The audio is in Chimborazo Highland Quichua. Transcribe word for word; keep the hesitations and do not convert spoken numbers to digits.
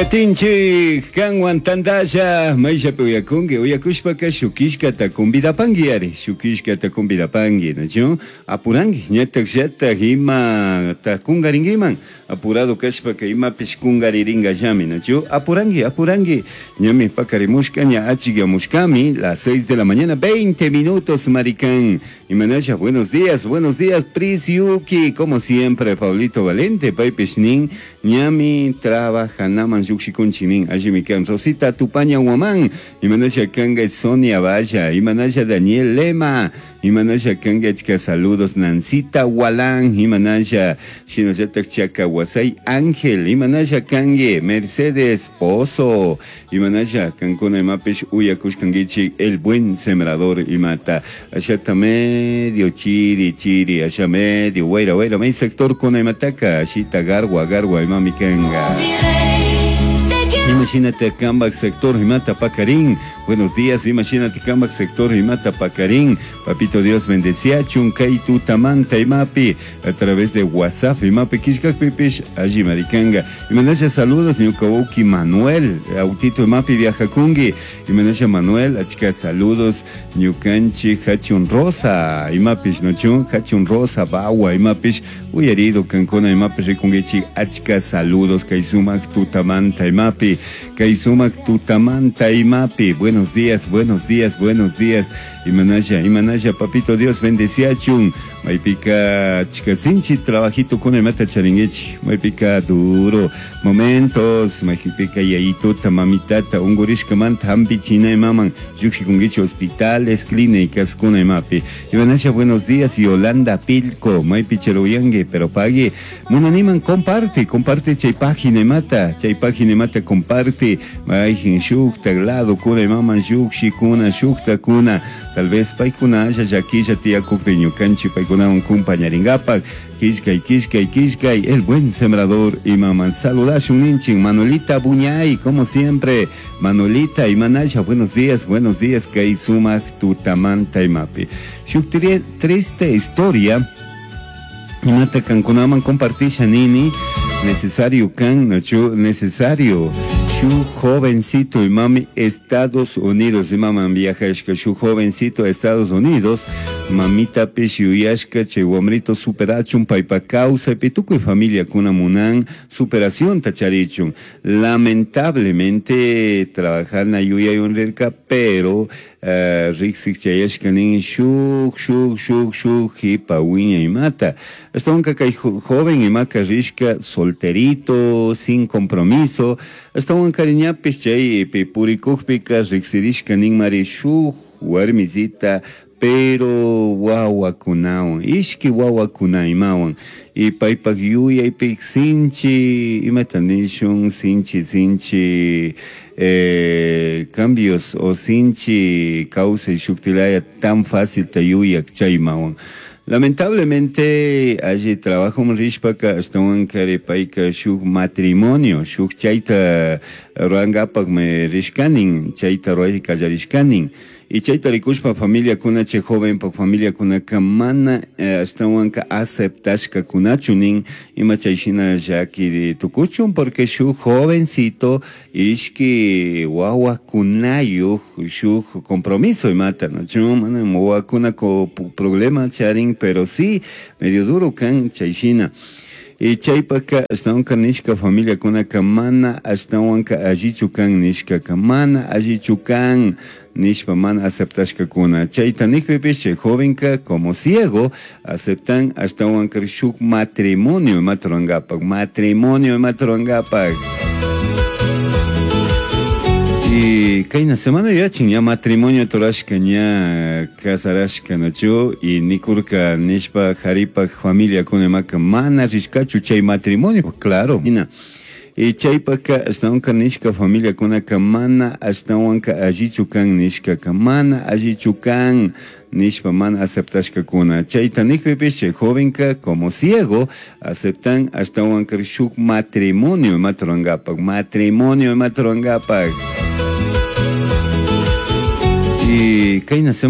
Katinchik kanwan tandalla mayllapi uyakunki uyakushpaka shukishkata convidapanki ari shukishkata convidapanki, nachu? Apuranki ñatak llatak imata kunkarinkiman apurado kashpaka imapish kunkariringallami, nachu? Apuranki, apuranki, ñami pakarimushka, ña achikyamushkami. Las seis de la mañana veinte minutos, maricán. Imanalla, buenos días, buenos días, Prisiuki, como siempre, Pablito Valente, paypish nin ñami trabajanaman llukshikunchik, allimi kan. Rosita Tupaña Guamán, imanalla kanga. Sonia Valla, imanalla. Daniel Lema, imanalla kanga. Achka saludos. Nancita Walán, imanalla. Shinallatak Chaka Wasay Ángel, imanalla kangi. Mercedes Pozo, imanalla kankuna imapish uyakushkankichik El Buen Sembrador imata. Allata medio chiri chiri, allá medio wayra wayra, may sector kuna imataka, ashita garwa garwa imami kanga. Imagínate kambak sector imata pakarin. Buenos días, imagínate kambak sector imata pakarin. Papito Dios bendeciachun kay tutamanta imapi a través de WhatsApp imapi kishkakpipish allí maricanga. Imanasha saludos ñuka Manuel, autito imapi viajakungi. Imanasha Manuel, achka saludos ñukanchi hachun rosa imapish nochun hachun rosa bawa imapish uyarido kankuna imapish rikungichi, achka saludos kay sumak tutamanta imapi. Kay sumak tutamanta imapi. Buenos días, buenos días, buenos días. Imanasha, imanasha, papito Dios bendeciachun. Maypika chika trabajito con imata charinguichi. Maypika duro momentos. Maypika yayituta mamitata ungurishka manta hampichina imaman. Llukshikunguichi hospitales, clínicas kuna imapi. Imanasha, buenos días, Yolanda Pilco. Maypi cheruyangue, pero pague. Munaniman comparte, comparte chay página imata. Chay página imata comparte. Mayjin shukta lado kuna imaman shukshi kuna shukta kuna. Tal vez paykuna haya llakilla tiyakukpi ñukanchik paykunawan kumpañarinkapak. Kishkay, kishkay, kishkay, El Buen Sembrador imaman saludashun ninchik. Manuelita Buñay, como siempre, Manuelita imanasha, buenos días, buenos días, kay sumak tutamanta imapi. Shuk triste historia imata kankunaman compartisha nini, necesario kan, nachu, necesario. Shu jovencito imami Estados Unidos imaman viajashka, shu jovencito Estados Unidos, mamita pish yuyashka chay wamrito superachun paypa kawsaypi tukuy familia kuna munan superación tacharichun. Lamentablemente trabajana yuyaywan rirka, pero uh, riksik chayashka nin shuk shuk shuk shuk hipa wiña imata. Ashtawanka kay joven imaka rishka solterito, sin compromiso. Ashtawan kariñapish chay purikukpika riksirishka nin mari shuk warmisita, pero wawakunawan, ishki wawakuna imawan. Y paypak yuyaypik sinchi, imata nishun, sinchi, sinchi eh, cambios o sinchi kawsay shuktilaya tan fácil ta yuyak chaymawan. Lamentablemente, allí trabajo rishpaka ashtawan kari payka shuk matrimonio, shuk chayta rurankapak me rishkanin, chayta ruray kallarishkanin. Y chayta rikushpa familia kuna chay joven pa familia kunaka mana eh, ashtawanka aceptashka kunachu nin ima chay shina llaki tukuchun, porque shuk jovencito ishki wawakunayuj shuk compromiso imata, no mana wawakuna ko problema charin, pero sí medio duro kan chay shina. Y chaypaka ashtawanka nishka familia kunaka mana ashtawanka allichu kan nishkaka mana allichu kan nishpa mana aceptashkakuna. Chayta nikpipish chay jovenka como ciego aceptan ashtawanka shuk matrimonio imata rurankapak, matrimonio imata rurankapak. Y kayna semana yachin ya matrimonio torashka ña casarashka nachu y nikurka nishpa jaripak familia kuna imaka mana rishkachu chay matrimonio, claro. Ina. Y chaypaka ashtawanka nishka familia kunaka mana ashtawanka allichu kan nishkaka mana allichu kan nishpa mana aceptashkakuna. Chayta nikpipish chay jovenka como ciego aceptan ashtawanka shuk matrimonio imata rurankapak, matrimonio imata rurankapak. Y kayna semana